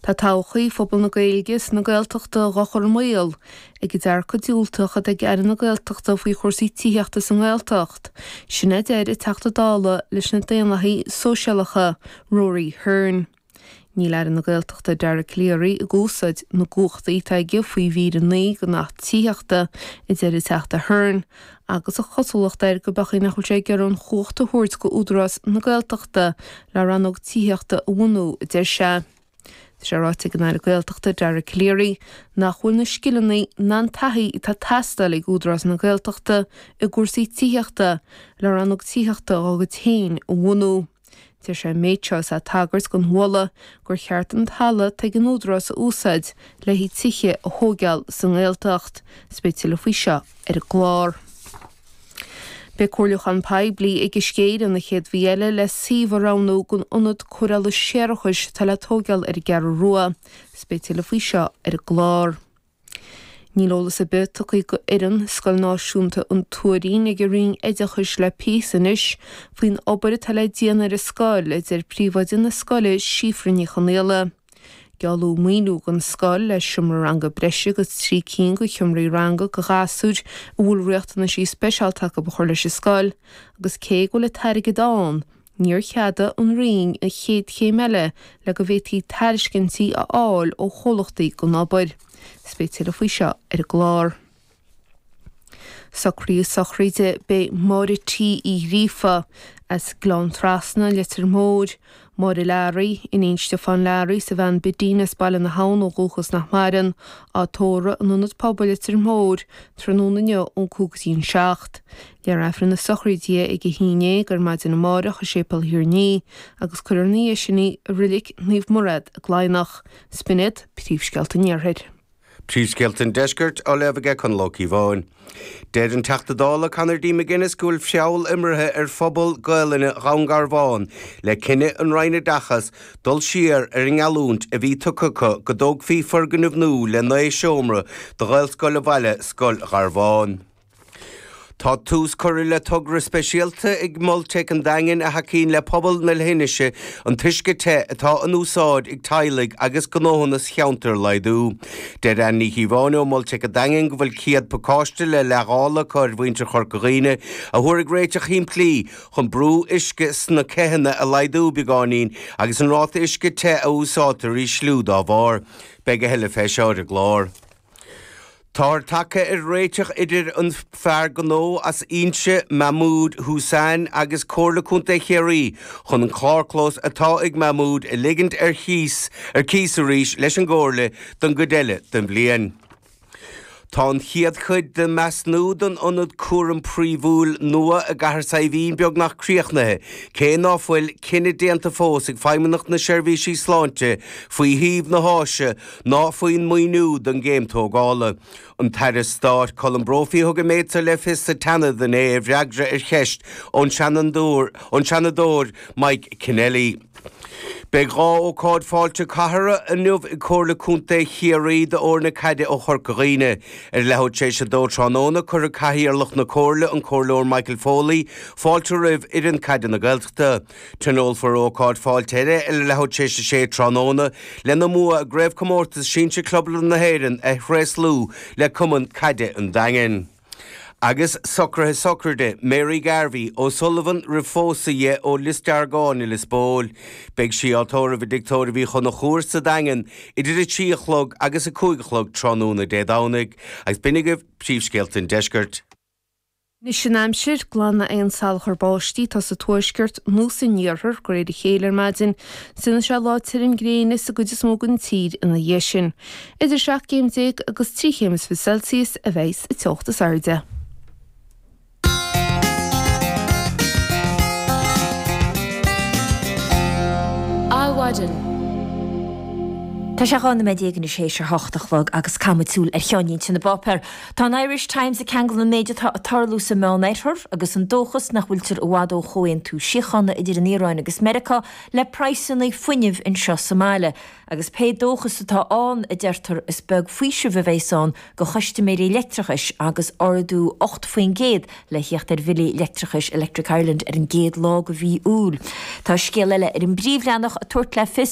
Tá todhchaí phobal na Gaeilge is na Gaeltachta dhá chur i mbaol ag an dearcadh diúltach atá ag Aire na Gaeltachta faoi chúrsaí tithíochta sa nGaeltacht. Sin a deir an Teachta Dála leis na Daonlathaigh Sóisialacha, Rory Hearne. Níl Aire na Gaeltachta Dara Calleary ag úsáid na gcumhachtaí atá aige faoi mhír 9 den Acht Tithíochta, a deir an Teachta Hearne, agus an chosúlacht air go b'fhéidir nach bhfuil sé ag iarraidh an chumhacht a thabhairt go Údarás na Gaeltachta le rannóg tithíochta a bhunú, a deir sé. Tá sé ráite ag an Aire Gaeltachta Dara Calleary nach bhfuil na scileanna ná an taithí atá ag teastáil ag Údarás na Gaeltachta i gcúrsaí tithíochta le rannóg tithíochta dá gcuid féin a bhunú. Deir sé an méid seo is é ag tagairt don mholadh gur cheart an talamh atá ag an Údarás a úsáid le haghaidh tithe a thóigeáil sa nGaeltacht. Is beidh tuilleadh faoi seo ar an gclár. Beidh comhairliúchán poiblí ag Uisce Éireann an chéad mhí eile le suíomh a roghnú don ionad cóireála séarachais atá le tóigeáil ar an gCeathrú Rua. Is beidh tuilleadh faoi seo ar an gclár. Níl eolas ar bith tugtha go fhoireann Scoil Náisiúnta an Tuairín ag an Roinn Oideachais le píosa anois faoin obair atá le déanamh ar an scoil, a deir príomhoide na scoile Síofra Ní Chonaola. Gealladh maoiniú don scoil le seomra ranga breise agus 3 cinn de sheomraí ranga do ghasúir a bhfuil riachtanaisí speisialta acu a chur leis an scoil agus cé go bhfuil an t-airgead ann, níor cheadaigh an Roinn an chéad chéim eile le go bhféadfaí tairiscintí a fháil ó chomhlachtaí don obair. Is beidh tuilleadh faoi seo ar an gclár. Socruithe sochraide Beidh Máire T Uí Ghríofa as Gleann Trasna, Leitir Móir, Máire Learaí, iníon Stiofán Learaí is a bhean Bidín as Baile na hAbhann ó dhúchas nach maireann, á tórramh in Ionad Pobail Leitir Móir tráthnóna inniu ón 5 go dtí an 7. Léifear Aifreann na sochraide ag a 11 ar maidin amárach i Séipéal Thír an Fhia agus cuirfear ina dhiaidh sin í i Reilig Naomh Murad i gCladhnach. 'S b'in iad príomhscéalta an Iarthair. Príomhscéalta an Deiscirt á léamh aige Conall Ó Cíobháin. Deir an Teachta Dála Conor D. McGuinness go bhfuil feall imeartha ar phobal Gaelainne Dhún Garbhán le cinneadh an Roinn Oideachais dul siar ar an ngeallúint a bhí tugtha acu go dtógfaí foirgneamh nua le 9 seomra do Ghaelscoil an bhaile, Scoil Gharbháin. Tá tús curtha le togra speisialta ag Mol Teic an Daingin a thacaíonn le pobal na leithinise an t-uisce te atá in úsáid ag teaghlaigh agus gnóthanna sa cheantar a laghdú. Deir Anne Ní Chíobháin ó Mol Teic an Daingin go bhfuil 100 pacáiste le leithdháileadh acu ar mhuintir Chorca Dhuibhne a thabharfaidh réiteach shimplí chun brú uisce sna ceitheanna a laghdú beagáinín agus an ráta uisce te a úsáidtear a ísliú dá bharr. Beidh a thuilleadh fé seo ar an gclár. Táthar tagtha ar réiteach idir an fear gnó as Inse, Mahmood Hussain agus Comhairle Contae Chiarraí chun an carrchlós atá ag Mahmood a ligint ar chíos ar cíos arís leis an gComhairle don gcuid eile den bhliain. Tá an chéad chuid den measnú don ionad cúraim príomhúil nua i gCathair Saidhbhín beagnach críochnaithe, cé ná fuil cinneadh déanta fós ag Feidhmeannacht na Seirbhísí Sláinte faoi shuíomh na háise ná faoin maoiniú don gcéim tógála. An tAire Stáit Colm Brophy a thug an méid seo le fios sa tSeanad inné i bhfreagra ar cheist ón Seanadóir Mike Kennelly. Beidh 2 ócáid fáilte cathartha inniu ag Comhairle Contae Chiarraí d'fhoirne caide ó Chorca Dhuibhne. Ar leathuair tar éis a dó tráthnóna cuirfidh Cathaoirleach na Comhairle, an Comhairleoir Michael Foley, fáilte roimh fhoireann caide na Gaeltachta. Tionólfar ócáid fáilte eile ar leathuair tar éis a sé tráthnóna lena mbua i gCraobhchomórtas Sinsir Clubanna na hÉireann a thréaslú le Cumann Caide an Daingin. Agus socruithe sochraide Mary Garvey O'Sullivan roimh phósadh dhi ó Lios Deargáin i Lios Póil. Beidh sí á tórramh i dTigh Tórraimh Uí Chonchúir sa Daingean idir 3 a chlog agus 5 a chlog tráthnóna Dé Domhnaigh. Agus b'in agaibh príomhscéalta an deiscirt. Anois an aimsir, glanfaidh aon salachar báistí atá sa tuaisceart nó san iarthar de réir a chéile ar maidin. Déanfaidh sé lá tirim gréine sa gcuid is mó den tír ina dhiaidh sin. Idir 17 céim agus 23 chéim Celsius a bheidh sa teocht is airde. Adhmhaidin. Tá sé 12 nóiméad anois théis a hocht a chlog agus caithfidh muid súil ar cheannlínte na bpáipéar. Tá an Irish Times ag ceangal an méid atá ag tarlú sa Meánoirthear agus an dóchas nach bhfuiltear i bhfad ó chomhaontú síochána idir an Iaráin agus Meiriceá le praghsanna fuinnimh anseo sa mbaile. Agus pé dóchas atá ann, a deirtear, is beag faoiseamh a bheas ann do chustaiméirí leictreachais agus ardú 8% le thíocht ar bhillí leictreachais Electric Ireland ar an gcéad lá de mhí Iúil. Tá scéal eile ar an bpríomhleathanach ag tabhairt le fios.